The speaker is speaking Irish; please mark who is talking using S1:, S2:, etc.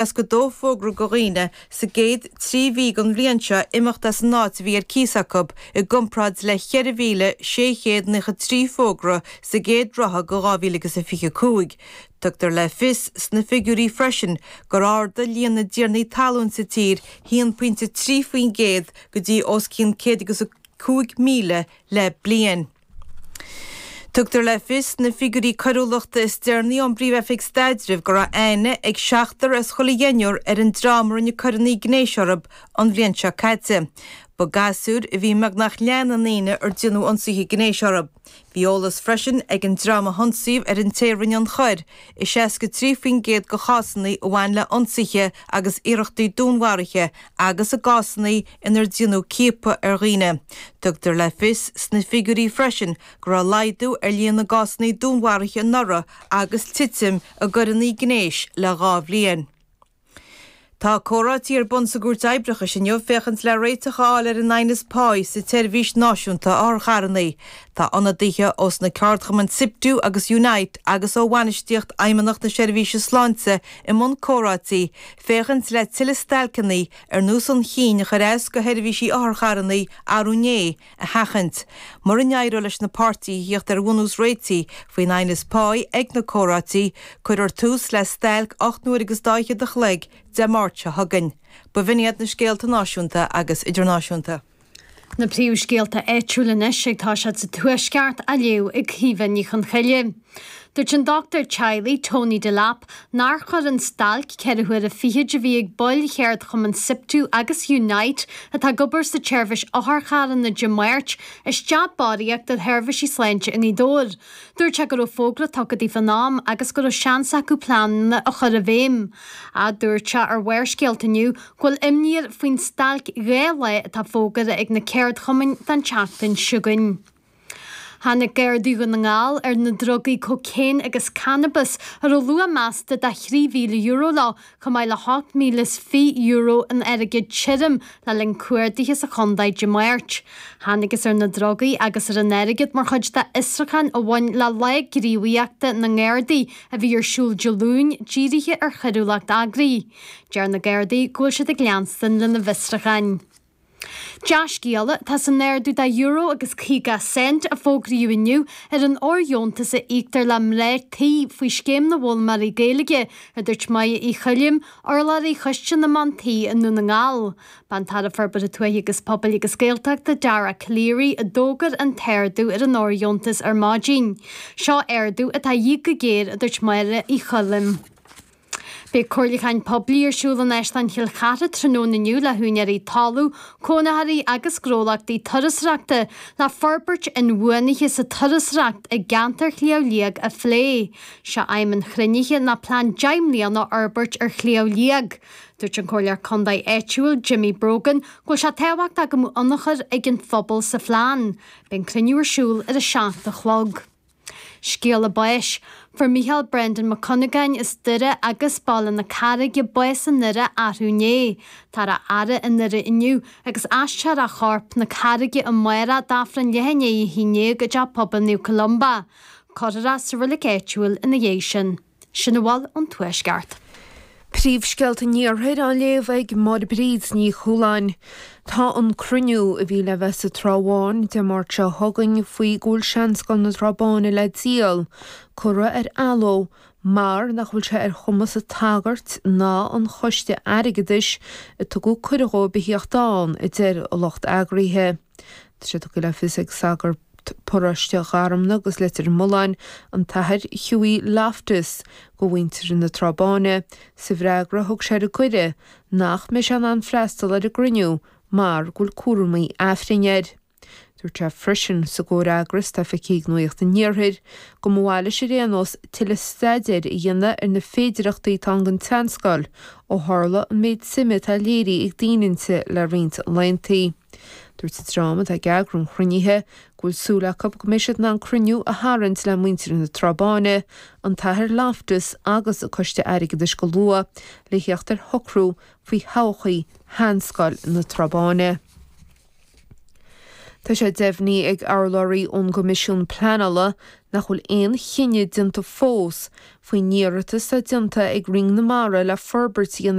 S1: 62 fógra do dhaoine sa gcéad 3 mhí den bhliain seo imeacht as an áit a bhí ar cíos acu i gcomparáid le 4,693 fógra sa gcéad ráithe de 2025. Tugtar le fios sna figiúirí freisin gur ardaigh líon na dtiarnaí talún sa tír 1.3% go dtí os cionn 105,000 le bliain. Tugtar le fios sna figiúirí coiriúlachta is deireanaí ón bPríomh-Oifig Staidrimh go raibh aithne ag seachtar as chuile dheichniúr ar an dream a rinne coireanna gnéis orthu an bhliain seo caite. Ba gasúir a bhí i mbeagnach leath na ndaoine ar déanadh ionsaithe gnéis orthu. Bhí eolas freisin ag an dream a hionsaíodh ar an té a rinne an choir i 63% de chásanna a bhain le hionsaithe agus iarrachtaí dúnmharaithe agus i gcásanna inar déanadh ciapadh ar dhaoine. Tugtar le fios sna figiúirí freisin go raibh laghdú ar líon na gcásanna dúnmharaithe anuraidh agus titim i gcoireanna gnéis le 2 bhliain. Tá comhráití ar bun sa gCúirt Oibreachais inniu féachaint le réiteach a fháil ar an aighneas páí sa tseirbhís náisiúnta otharcharranna. Tá ionadaithe ós na ceardchumainn Siptu agus Unite agus ó bhainistíocht Fheidhmeannacht na Seirbhíse Sláinte i mbun comhráití féachaint le tuilleadh stailceanna ar nós an chinn a chuir as go sheirbhísí otharcharranna arú inné, a sheachaint. Mura n-éireoidh leis na páirtithe theacht ar bhunús réitigh faoin aighneas páí ag na comhráití, cuirfear tús le stailc 8 n-uaire agus dá fhichead a chloig Dé Máirt seo chugainn. B'in iad na scéalta náisiúnta agus idirnáisiúnta.
S2: Na príomhscéalta áitiúla anois ag toiseacht sa Tuaisceart á léamh ag Caoimhe Ní Chonchoille. Dúirt an dochtúir teaghlaigh Tony Delap nár chuir an stailc 4 huaire fichid a bhí ag baill cheardchumann Siptu agus Unite atá ag obair sa tseirbhís otharcharranna Dé Máirt isteach barraíocht ar sheirbhísí sláinte i nGaoth Dobhair. Dúirt sé go raibh fógra tugtha daofa in am agus go raibh seans acu pleananna a chur i bhfeidhm. Ach dúirt sé ar Bharrscéalta inniu go bhfuil imní air faoin stailc 2 lá atá fógartha ag na ceardchumainn don tseachtain seo chugainn. Tháinig Gardaí Dhún na nGall ar na drugaí cócaon agus cannabas a raibh luach measta de €3,000 leo chomh maith le €8,020 in airgead tirim le linn cuardaithe sa chontae Dé Máirt. Thángthas ar na drugaí agus ar an airgead mar chuid d'fhiosrúchán a bhain le Lá Gníomhaíochta na nGardaí a bhí ar siúl Dé Luain dírithe ar choiriúlacht eagraithe. Deir na Gardaí go bhfuil siad ag leanstan lena bhfiosrúcháin. Dea-scéala atá san ardú de euro agus 50 cent a fógraíodh inniu ar an fhóirdheontas a íoctar le mná tí faoi Scéim na bhFoghlaimeoirí Gaeilge, a dúirt Máire Uí Choilm, urlabhraí Choiste na mBan Tí i nDún na nGall. B'é an tAire Forbartha Tuaithe agus Pobail agus Gaeltachta, Dara Calleary, a d'fhógair an t-ardú ar an fhóirdheontas ar maidin. Seo ardú atá a dhíth go géar, a dúirt Máire Uí Choilm. Beidh comhairliúcháin poiblí ar siúl in Áislann Chill Chartha tráthnóna inniu le húinéirí talún, cónaitheoirí agus gnólachtaí turasóireachta le forbairt inbhuanaithe sa turasóireacht i gceantar Shliabh Liag a phlé. Sé aidhm an chruinnithe ná plean 10 mbliana a fhorbairt ar Shliabh Liag. Dúirt an Comhairleoir Contae áitiúil, Jimmy Brogan, go bhfuil sé tábhachtach go mbeadh ionchur ag an phobal sa phlean. Beidh an cruinniú ar siúl ar a 7 a chlog. Scéala báis. Fuair Mícheál Brendan Mac Cuinneagáin as Doire agus Baile na Carraige bás i nDoire arú inné. Táthar á fhaire i nDoire inniu agus aistreofar a chorp 'na Carraige amárach d'Aifreann leath i ndiaidh a haon dhéag i dTeach Pobail Naomh Columba. Cuirfear é sa reilig áitiúil ina dhiaidh sin. Sin a bhfuil ón Tuaisceart.
S3: Príomhscéalta an Iarthair á léamh ag Máire Bríd Ní Chualáin. Tá an cruinniú a bhí le bheith sa Trá Bháin Dé Máirt seo chugainn faoi go bhfuil Seanscoil na Trá Báine le díol, curtha ar athló mar nach bhfuil sé ar chumas an tsagairt ná an choiste airgeadais a tugadh cuireadh dhóibh a theacht ann, a deir a lucht eagraithe. Tá sé tugtha le fios ag sagart paróiste Gharmna agus Leitir Mealláin, an tAthair Hughie Loftus, do mhuintir na Trá Báine, sa bhfreagra a thug sé ar an gcuireadh, nach mbeidh sé in ann freastal ar an gcruinniú mar go bhfuil cúramaí Aifrinn air. Dúirt sé freisin sa gcomhfhreagras atá feicthe ag Nuacht an Iarthair, go mba mhaith leis ar aon nós tuilleadh staidéir a dhéanamh ar na féidireachtaí atá ann don tseanscoil ó tharla an méid suime atá léirithe ag daoine inti le roinnt laethanta. Dúirt an dream atá ag eagrú an chruinnithe go bhfuil súil acu go mbeidh siad in ann cruinniú a tharraingt le muintir na Trá Báine, an tAthair Loftus agus an Coiste Airgeadais go luath le theacht ar shocrú faoi thodhchaí Sheanscoil na Trá Báine. Tá sé deimhnithe ag urlabhraí ón gCoimisiún Pleanála. nach bhfuil aon chinneadh déanta fós faoin iarratas atá déanta ag Roinn na Mara le forbairt a dhéanamh.